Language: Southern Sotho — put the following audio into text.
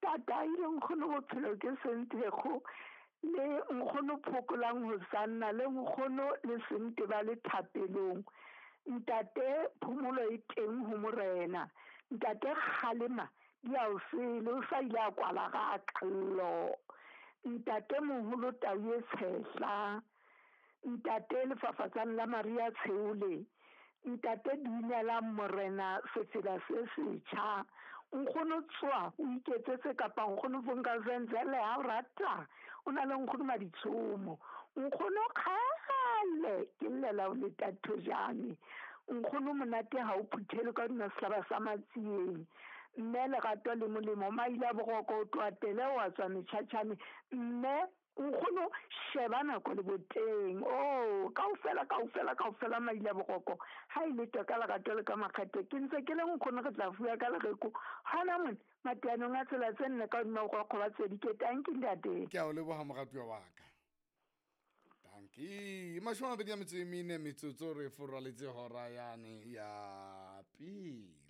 Ntata ile nkgono bophelo ke Senthekgo le nkgono Phokolang Hosanna le nkgono le Sente ba le thapelong. Ntate phomolo e teng ho morena. Ntate kgalema di a o sele o sa ile a kwala ga kallo. Ntate moholo tau e tshehla. Ntate lefafatsane la Maria Tsheole. Ntate dumelang morena sefela se setjha. Nkgono tswa o iketsetse kapa nkgono Vonkazenzele ha o rata. O na le nkgono Maditshomo. Nkgono kgale ke llela o leta thojane. Nkgono monate ha o phuthele ka hodima sehlaba sa matsieng. Mme lerato le molemo maile a boroko o tloha tele wa tswa metjhatjhane. Mme nkgono sheba nako le boteng o kaofela kaofela kaofela maile a boroko ha e le ka lerato le ka makgethe ke ntse ke le nkgono re tla fuwa ka lereko hona mone mateanong a tsela tse nne ka hodima borokgo ba tswedi ke tanki ntate. Ke a o leboga moratuwa wa ka. Danki. 24 metsotso re foraletse hora yane ya pele.